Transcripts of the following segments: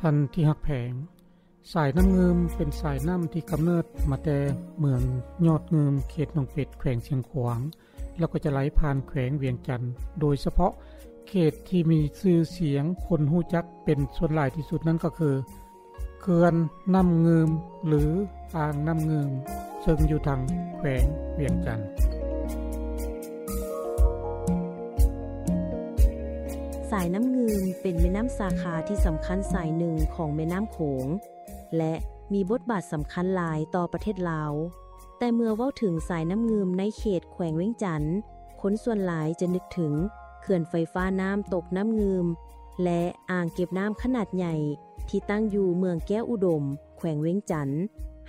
ທ່ານທີ່ຮັກແພງ, ສາຍນ້ຳງື່ມເປັນສາຍນ້ຳທີ່ກຳເນີດມາແຕ່ເມືອງຍອດງື່ມ ເຂດໜອງເປັດ ແຂວງຊຽງຂວາງ ແລ້ວກໍຈະໄຫຼຜ່ານແຂວງວຽງຈັນ, ໂດຍສະເພາະເຂດທີ່ມີຊື່ສຽງ ຄົນຮູ້ຈັກເປັນສ່ວນຫຼາຍທີ່ສຸດນັ້ນກໍຄື ເຂື່ອນນ້ຳງື່ມ ຫຼື ອ່າງນ້ຳງື່ມ ເຊິ່ງຢູ່ທາງແຂວງວຽງຈັນ. ສາຍນ້ຳງື່ມເປັນແມ່ນ້ຳສາຂາທີ່ສຳຄັນສາຍໜຶ່ງຂອງແມ່ນ້ຳໂຂງ ແລະ ມີບົດບາດສຳຄັນຫຼາຍຕໍ່ປະເທດລາວ. ແຕ່ເມື່ອເວົ້າເຖິງສາຍນ້ຳງື່ມໃນເຂດແຂວງວຽງຈັນ, ຄົນສ່ວນຫຼາຍຈະນຶກເຖິງເຂື່ອນໄຟຟ້ານ້ຳຕົກນ້ຳງື່ມ ແລະ ອ່າງເກັບນ້ຳຂະໜາດໃຫຍ່ ທີ່ຕັ້ງຢູ່ເມືອງແກ້ວອຸດົມ ແຂວງວຽງຈັນ,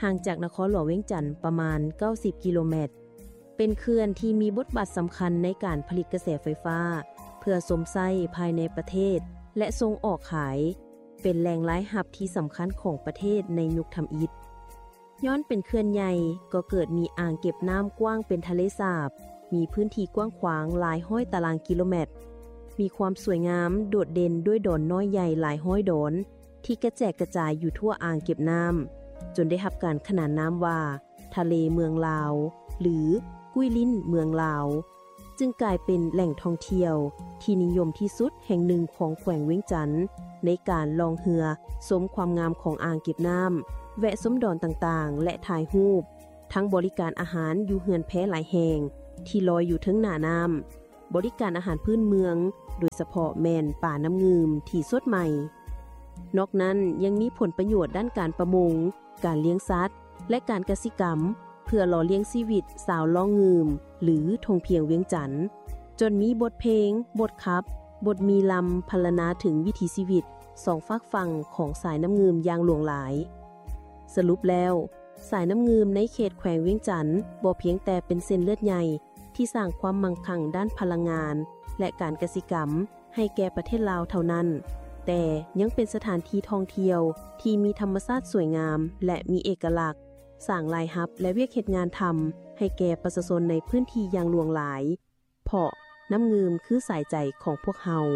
ຫ່າງຈາກນະຄອນຫຼວງວຽງຈັນປະມານເກົ້າສິບກິໂລແມັດ. ເປັນເຂື່ອນທີ່ມີບົດບາດສຳຄັນໃນການຜະລິດກະແສໄຟຟ້າ ເພື່ອຊົມໃຊ້ພາຍໃນປະເທດ ແລະ ສົ່ງອອກຂາຍ, ເປັນແຫຼ່ງລາຍຮັບທີ່ສຳຄັນຂອງປະເທດໃນຍຸກທຳອິດ. ຍ້ອນເປັນເຂື່ອນໃຫຍ່ ກໍເກີດມີອ່າງເກັບນ້ຳກວ້າງເປັນທະເລສາບ, ມີພື້ນທີ່ກວ້າງຂວາງຫຼາຍຮ້ອຍຕາລາງກິໂລແມັດ, ມີຄວາມສວຍງາມໂດດເດັ່ນດ້ວຍດອນນ້ອຍໃຫຍ່ຫຼາຍຮ້ອຍດອນ ທີ່ກະແຈກກະຈາຍຢູ່ທົ່ວອ່າງເກັບນ້ຳ, ຈົນໄດ້ຮັບການຂະໜານນາມວ່າ ທະເລເມືອງລາວ ຫຼື ກຸ້ຍລິ້ນເມືອງລາວ, ຈຶ່ງກາຍເປັນແຫຼ່ງທ່ອງທ່ຽວທີ່ນິຍົມທີ່ສຸດແຫ່ງໜຶ່ງຂອງແຂວງວຽງຈັນ ໃນການລ່ອງເຮືອຊົມຄວາມງາມຂອງອ່າງເກັບນ້ຳ, ແວະຊົມດອນຕ່າງໆ ແລະ ຖ່າຍຮູບ, ທັງບໍລິການອາຫານຢູ່ເຮືອນແພຫຼາຍແຫ່ງທີ່ລອຍຢູ່ເທິງໜ້ານ້ຳ, ບໍລິການອາຫານພື້ນເມືອງ, ໂດຍສະເພາະແມ່ນປານ້ຳງື່ມທີ່ສົດໃໝ່. ນອກນັ້ນຍັງມີຜົນປະໂຫຍດດ້ານການປະມົງ, ການລ້ຽງສັດ ແລະ ການກະສິກຳ ເພື່ອຫຼໍ່ລ້ຽງຊີວິດຊາວລ້ອງງື່ມ ຫຼື ທົ່ງພຽງວຽງຈັນ, ຈົນມີບົດເພງ, ບົດຂັບ, ບົດມີລຳພັນລະນາເຖິງວິຖີຊີວິດສອງຟາກຝັ່ງຂອງສາຍນ້ຳງື່ມຢ່າງຫຼວງຫຼາຍ. ສະຫຼຸບແລ້ວ, ສາຍນ້ຳງື່ມໃນເຂດແຂວງວຽງຈັນບໍ່ພຽງແຕ່ເປັນເສັ້ນເລືອດໃຫຍ່ ທີ່ສ້າງຄວາມມັ່ງຄັ່ງດ້ານພະລັງງານ ແລະ ການກະສິກຳໃຫ້ແກ່ປະເທດລາວເທົ່ານັ້ນ, ແຕ່ຍັງເປັນສະຖານທີ່ທ່ອງທ່ຽວທີ່ມີທຳມະຊາດສວຍງາມ ແລະ ມີເອກະລັກ, ສ້າງລາຍຮັບ ແລະ ວຽກເຮັດງານທຳໃຫ້ແກ່ປະຊາຊົນໃນພື້ນທີ່ຢ່າງຫຼວງຫຼາຍ, ເພາະນ້ຳງື່ມຄືສາຍໃຈຂອງພວກເຮົາ.